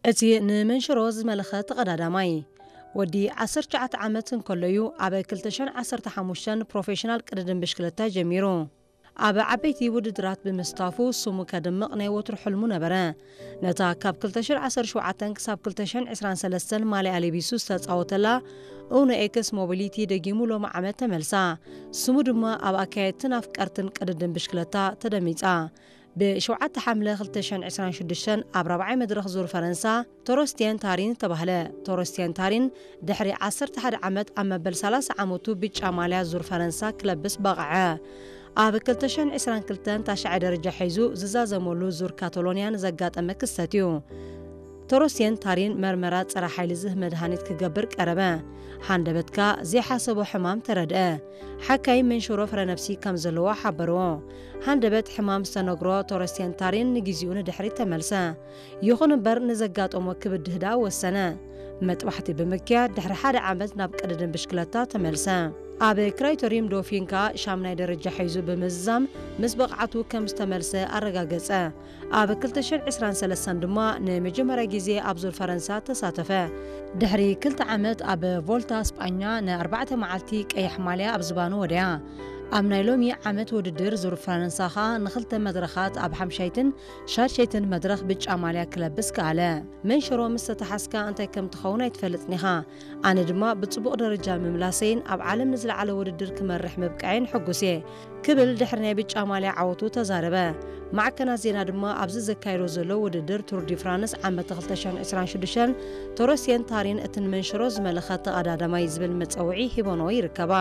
እቲ ንመንሽሮ ዝመለኸ ተቐዳዳማይ ወዲ ዓሰርተ ትሽዓተ ዓመት እንከሎ እዩ ኣብ ክልተ ሽሕን ዓሰርተ ሓሙሽተን ፕሮፌሽናል ቅድድም ብሽክለታ ጀሚሩ። ኣብ ዓበይቲ ውድድራት ብምስታፉ ስሙ ከድምቕ ናይ ወትሩ ሕልሙ ነበረ። ነታ ካብ ክልተ ሽሕን ዓሰርተ ሸውዓተን ክሳብ ክልተ ሽሕን ዕስራን ሰለስተን ማልያ ለቢሱ ዝተጻወተላ ኡኖ ኤክስ ሞቢሊቲ ደጊሙ ሎሚ ዓመት ተመልሳ። ስሙ ድማ ኣብ ኣካየድትን ኣፍቀርትን ቅድድም ብሽክለታ ተደሚጻ። ብ7 ሓምለ ክልተ ሽሕን ዕስራን ሽዱሽተን ኣብ ራብዓይ መድረኽ ዙር ፈረንሳ ቶሮስቲየን ታሪን ተባህለ። ቶሮስቲየን ታሪን ድሕሪ ዓሰርተ ሓደ ዓመት ኣብ መበል ሰላሳ ዓመቱ ብጫ ማልያ ዙር ፈረንሳ ክለብስ በቕዐ። ኣብ ክልተ ሽሕን ዕስራን ክልተን ታሽዓይ ደረጃ ሒዙ ዝዛዘመሉ ዙር ካታሎንያ ንዘጋጠመ ክስተት እዩ። ቶሮስቲየን ታሪን መርመራ ጸረ ሓይሊ ዝህብ መድሃኒት ክገብር ቀረበ። ሃንደበትካ ዘይሓሰቦ ሕማም ተረድአ። ሓካይ መንሽሮ ፍረ ነብሲ ከም ዘለዎ ሓበርዎ። ሃንደበት ሕማም ዝተነግሮ ቶሮስቲየን ታሪን ንግዜኡ ንድሕሪት ተመልሰ። ይኹን እምበር ንዘጋጠሞ ክብድህ ደኣ ወሰነ። መጥባሕቲ ብምክያድ ድሕሪ ሓደ ዓመት ናብ ቅድድም ብሽክለታ ተመልሰ። ኣብ ክራይቶሪም ዶፊንካ ሻምናይ ደረጃ ሒዙ ብምዝዛም ምስ ብቕዓቱ ከም ዝተመልሰ ኣረጋገጸ። ኣብ ክልተ ሽሕን ዕስራን ሰለስተን ድማ ንመጀመርያ ግዜ ኣብ ዙር ፈረንሳ ተሳተፈ። ድሕሪ ክልተ ዓመት ኣብ ቮልታ ስጳኛ ንኣርባዕተ መዓልቲ ቀይሕ ማልያ ኣብ ዝባኑ ወደያ። ኣብ ናይ ሎሚ ዓመት ውድድር ዙር ፈረንሳ ኸኣ ንኽልተ መድረኻት ኣብ ሓምሻይትን ሻድሸይትን መድረኽ ብጫ ማልያ ክለብስ ከኣለ። መንሽሮ ምስ ተተሓዝካ እንታይ ከም ትኸውን ኣይትፈልጥን ኢኻ። ኣነ ድማ ብጽቡቕ ደረጃ ምምላሰይን ኣብ ዓለም ንዝለዓለ ውድድር ክመርሕ ምብቃዕን ሕጉስ እየ ክብል ድሕሪ ናይ ብጫ ማልያ ዓወቱ ተዛረበ። ማዕከናት ዜና ድማ ኣብዚ ዘካየዶ ዘሎ ውድድር ቱር ዲ ፍራንስ ዓመት ክልተ ሽሕን ዕስራን ሽዱሽተን ቶሮስቲየን ታሪን እቲ ንመንሽሮ ዝመለኸ ተቐዳዳማይ ዝብል መጸውዒ ሂቦንኦ ይርከባ።